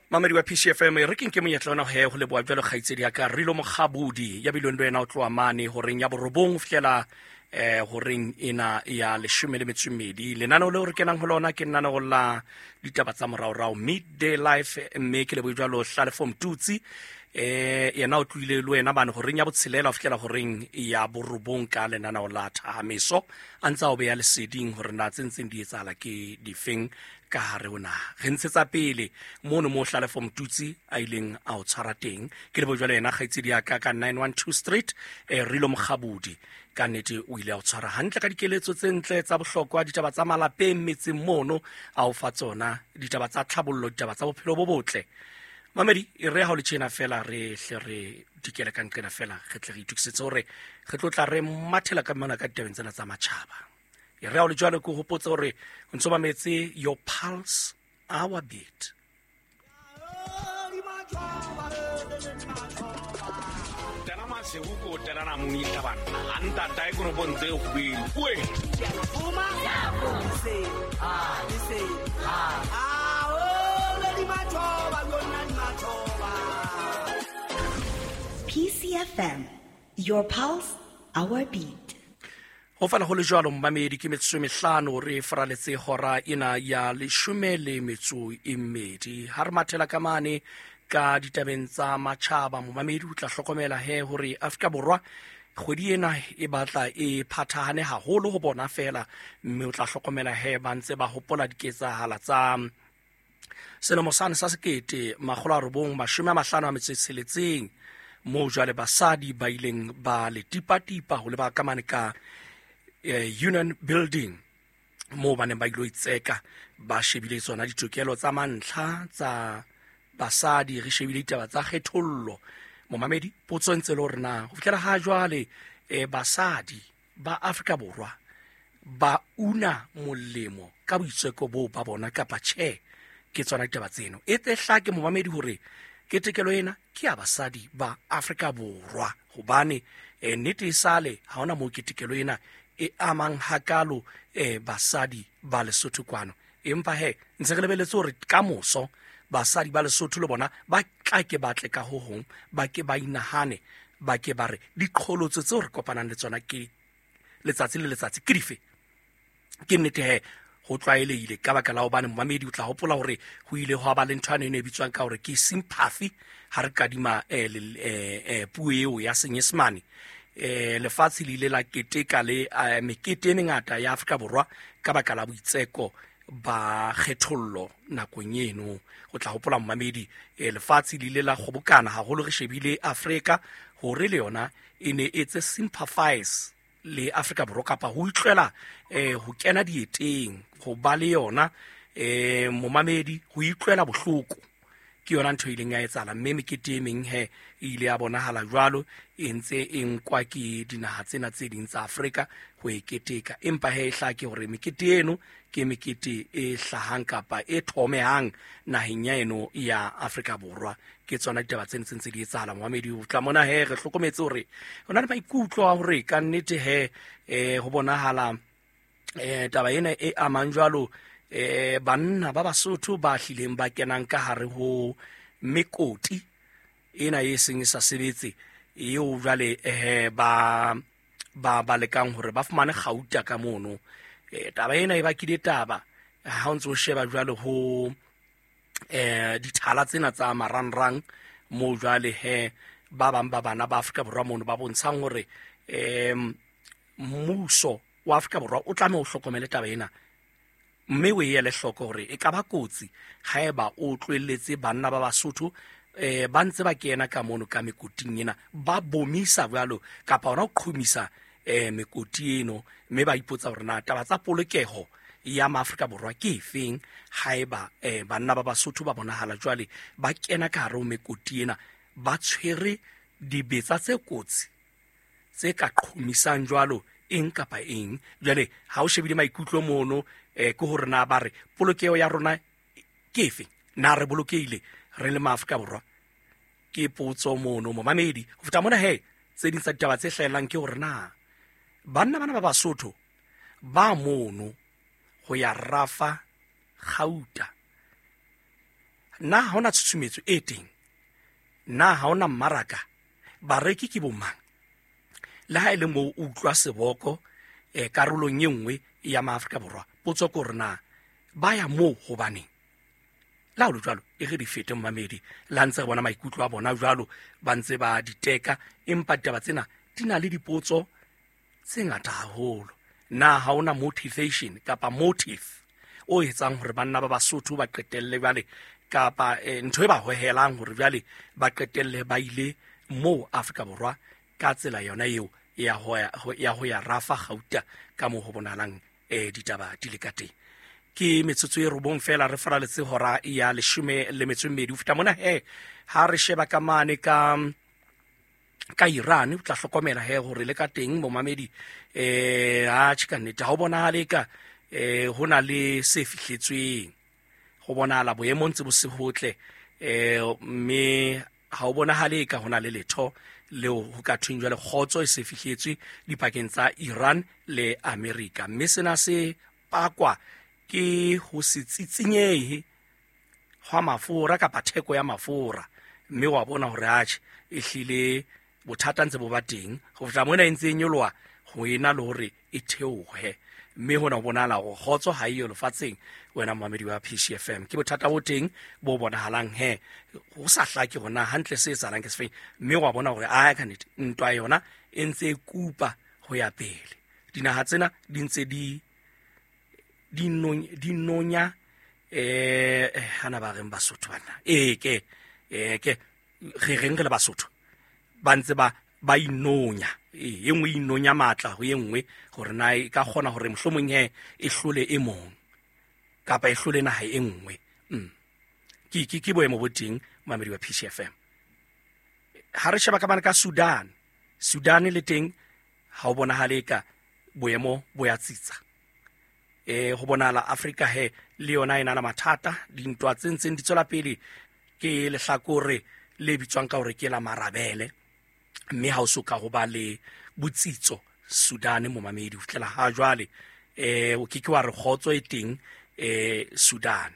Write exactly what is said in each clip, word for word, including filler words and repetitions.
Mamedi wa P C F M, re ke nke monyetla ona he ho leboha jwalo kgaitsedi ya ka Rilo Mokgabudi ya bileng le wena o tloha mane horeng ya borobong ho fihlela eh horeng ena ya leshome le metso e mmedi. Lenaneo leo re kenang ho lona ke lenaneo la ditaba tsa moraorao Midday Life, mme ke lebohe jwalo Hlalefo Mtutsi. Eh yena o tlohile le wena bane horeng ya botshelela ho fihlela horeng ya borobong ka lenaneo la Thahameso, a ntse a o beha leseding hore na tse ntseng di etsahala ke difeng ka hare ho naha. Re ntshetsa pele mono mo Hlalefo Mtutsi a ileng a o tshwara teng. Ke lebohe jwalo yena kgaitsedi ya ka ka nine one two Street, eh Rilo Mokgabudi. Ka nnete o ile a o tshwara hantle ka dikeletso tse ntle tsa bohlokwa, ditaba tsa malapeng metseng mono a o fa tsona, ditaba tsa tlhabollo, ditaba tsa bophelo bo botle. Mamedi, e re ha o le tjena fela re hle re dikele ka nqena fela, re tle re itokisetse hore re tlo tla re mathela ka mona ka ditabeng tsena tsa matjhaba. E re ha o le jwalo ke o hopotse hore o ntso mametse Your Pulse, Our Beat. Sewuko terana muni taban anta tai kono bontse o khubedu oe P C F M, Your Pulse, Our Beat. Ho fana ho le jwalo mmamedi, ke metsotso e mehlano re faraletse hora ena ya leshome le metso e mmedi. Ha re mathela ka mane ka ditabeng tsa matjhaba, momamedi o tla hlokomela he hore Afrika Borwa kgwedi ena e batla e phathahane haholo ho bona fela, mme o tla hlokomela he ba ntse ba hopola diketsahala tsa selemo sane sa sekete makgolo a robong mashome a mahlano a metso e tsheletseng, moo jwale basadi ba ileng ba le tipatipa ho leba ka mane ka, eh, Union Building, moo ba neng ba ilo itseka ba shebile tsona ditokelo tsa mantlha tsa basadi, re shebile ditaba tsa kgethollo. Momamedi, potso e ntse le hore na ho fihlela ha jwale, eh, basadi ba Afrika Borwa ba una molemo ka boitseko boo ba bona kapa tjhe? Ke tsona ditaba tseno. E tle hlake momamedi hore ketekelo ena ke ya basadi ba Afrika Borwa, hobane, eh, nnete e sale ha hona moo ketekelo ena e amang hakalo, eh, basadi ba Lesotho kwano. Empa he ntse re lebeletse hore kamoso basadi ba Lesotho le bona ba tla ke batle ka ho hong, ba ke ba inahane, ba ke ba re diqholotso tseo re kopanang le tsona ke letsatsi le letsatsi ke dife. Ke nnete he ho tlwaelehile ka baka la hobane momamedi o tla hopola hore ho ile hwa ba le ntho ane e ne e bitswang ka hore ke sympathy ha re kadima, eh, le, eh, eh, puo eo ya Senyesemane. Eh, lefatshe le ile la keteka le, eh, mekete e mengata ya Afrika Borwa ka baka la boitseko ba kgethollo nakong eno. O tla hopola momamedi, eh, lefatshe le ile la kgobokana haholo re shebile Afrika hore le yona e ne e tse sympathize le Afrika Borwa kapa ho utlwela, eh, ho kena dieteng, ho ba le yona, eh, momamedi, ho utlwela bohloko. Ke yona ntho e ileng ya etsahala, mme mekete e meng he e ile ya bonahala jwalo e ntse e nkwa ke dinaha tsena tse ding tsa Afrika ho e keteka. Empa he e hlake hore mekete eno ke mekete e hlahang kapa e thomehang naheng ya eno ya Afrika Borwa. Ke tsona ditaba tse ntseng tse di etsahala momamedi. O tla mona he re hlokometse hore ho na le maikutlo a hore ka nnete he, eh, ho bonahala, eh, taba ena e amang jwalo, eh, banna ba Basotho ba hlileng ba kenang ka hare ho mekoti ena e seng e sa sebetse eo jwale, eh, ba, ba, ba lekang hore ba fumane kgauta ka mono. Eh, taba ena e bakile taba ha o ntso sheba jwale ho, eh, dithala tsena tsa marangrang moo jwale he ba bang ba bana ba Afrika Borwa mono ba bontshang hore, eh, mmuso wa Afrika Borwa o tlameha o hlokomele taba ena, mme o e ele hloko hore e ka ba kotsi haeba o tlohelletse banna ba Basotho, eh, ba ntse ba kena ka mono ka mekoting ena, ba bomisa jwalo kapa hona ho qhomisa, eh, mekoti eno, mme ba ipotsa hore na taba tsa polokeho ya Maafrika Borwa ke efeng haeba, eh, banna ba Basotho ba bonahala jwale ba kena ka hare ho mekoti ena ba tshwere dibetsa tse kotsi tse ka qhomisang jwalo eng kapa eng. Jwale ha o shebile maikutlo mono, eh, ke hore na ba re polokeho ya rona ke efe, na re bolokehile re le Maafrika Borwa? Ke potso mono momamedi. Ho feta mona he tse ding tsa ditaba tse hlahellang ke hore na banna bana ba Basotho ba mono ho ya rafa kgauta Na ha hona tshusumetso e teng? Na ha hona mmaraka? Bareki ke bomang? Le ha e le moo o utlwa seboko eh, karolong e nngwe ya maAfrika Borwa, potso ke hore na ba ya moo hobaneng? Le ha ho le jwalo, e re di fete momamedi, le ha ntse re bona maikutlo a bona jwalo, ba ntse ba di teka, empa ditaba tsena di na le dipotso tse ngata haholo. Na ha hona motivation kapa motive o etsang hore banna ba Basotho ba qetelle jwale, kapa eh, ntho e ba hohelang hore jwale ba qetelle ba ile moo Afrika Borwa ka tsela yona eo ya ho ya, ya ho ya rafa gauta ka moo ho bonahalang eh, ditaba di le ka teng. Ke metsotso e robong fela re faraletse hora ya leshome le metso e mmedi. Ho feta mona he, ha re sheba ka mane ka ka Iran, o tla hlokomela he hore le ka teng momamedi eh ha tjhe ka nnete ha o bonahale ka eh ho na le se fihletsweng. Ho bonahala boemo ntse bo se botle, eh mme ha o bonahale ka hona le letho leo ho ka thweng jwale kgotso e se fihletswe dipakeng tsa Iran le Amerika. Mme sena se pakwa ke ho se tsitsinyehe hwa mafura kapa theko ya mafura, mme wa bona hore atjhe e hlile bothata ntse bo ba teng ho fihla mona e ntse e nyoloha ho ena le hore e theohe, mme hona ho bonahala hore kgotso ha eyo lefatsheng. Wena momamedi wa P C F M, ke bothata bo teng bo bonahalang he ho sa hlake hore na hantle se etsahalang ke sefeng, mme wa bona hore a ka nnete ntwa yona e ntse e kupa ho ya pele. Dinaha tsena di ntse di di nonya, di nonya eh hana ba reng Basotho bana e ke e ke re reng re le Basotho ba ntse ba ba inonya, e nngwe inonya matla ho e nngwe hore na e ka kgona hore mohlomong he e hlole e mong kapa e hlole naha e nngwe. Mm. Ke ke ke boemo bo teng momamedi wa P C F M. Ha re sheba ka bana ka Sudan, Sudan le teng ha o bonahale ka boemo bo ya tsitsa. Eh ho bonahala Afrika he le yona e na le mathata, dintwa tse ntseng di tswela pele ke lehlakore le bitswang ka hore ke la marabele, mme ha o so ka ho ba le botsitso Sudan momamedi ho fihlela ha jwale. Eh o ke ke wa re kgotso e teng eh Sudan.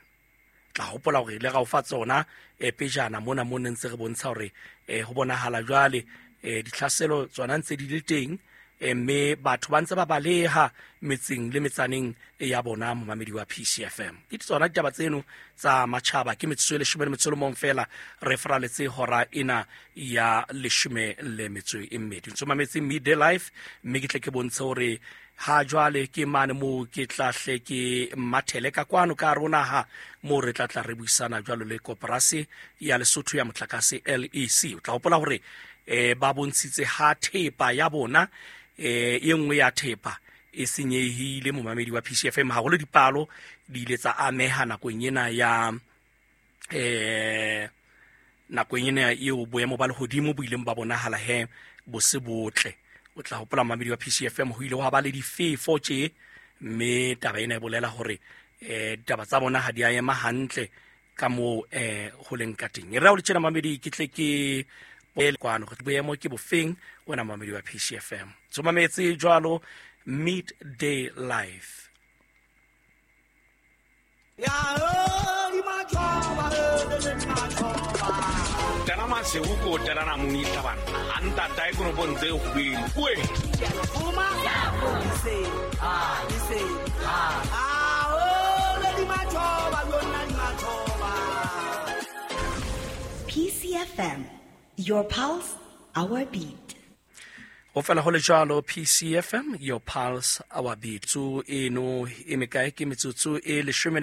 Tla hopola hore le ra o fa tsona eh pejana mona mo ne ntse re bontsha hore eh ho bonahala jwale eh ditlhaselo tsona ntse di le teng, mme batho ba ntse ba baleha metseng le metsaneng ya bona momamedi wa P C F M. Ke tsona ditaba tseno tsa matjhaba. Ke metsotso e leshome le metso e mong fela re faraletse hora ena ya leshome le metso e mmedi. Ntse mametse Midday Life, mme ke tle ke bontshe hore ha jwale ke mane moo ke tla hle ke mathele ka kwano ka rona ha moo re tla tla re buisana jwalo le koporasi ya Lesotho ya motlakase L E C. O tla hopola hore eh ba bontshitse ha thepa ya bona eh e nngwe ya thepa e senyehile momamedi wa P C F M, haholo dipalo di ile tsa ameha nakong ena ya eh nakong ena eo boemo ba lehodimo bo ileng ba bonahala he bo se botle. O tla hopola momamedi wa P C F M ho ile hwa ba le difefo tje, mme taba ena e bolela hore eh ditaba tsa bona ha di a ema hantle ka moo eh ho leng ka teng. E re ha o le tjena momamedi ke tle ke kwano go boemo ke bofeng wena momamedi wa P C F M. Tsomametse jwalo Midday Life. Tana maseuko tana munita bana anta tai kono bonze hwili kwe P C F M, your pulse, our beat. Ho fela ho le jwalo P C F M, your pulse, our beat. Tso eno e mekae ke metsotso e leshome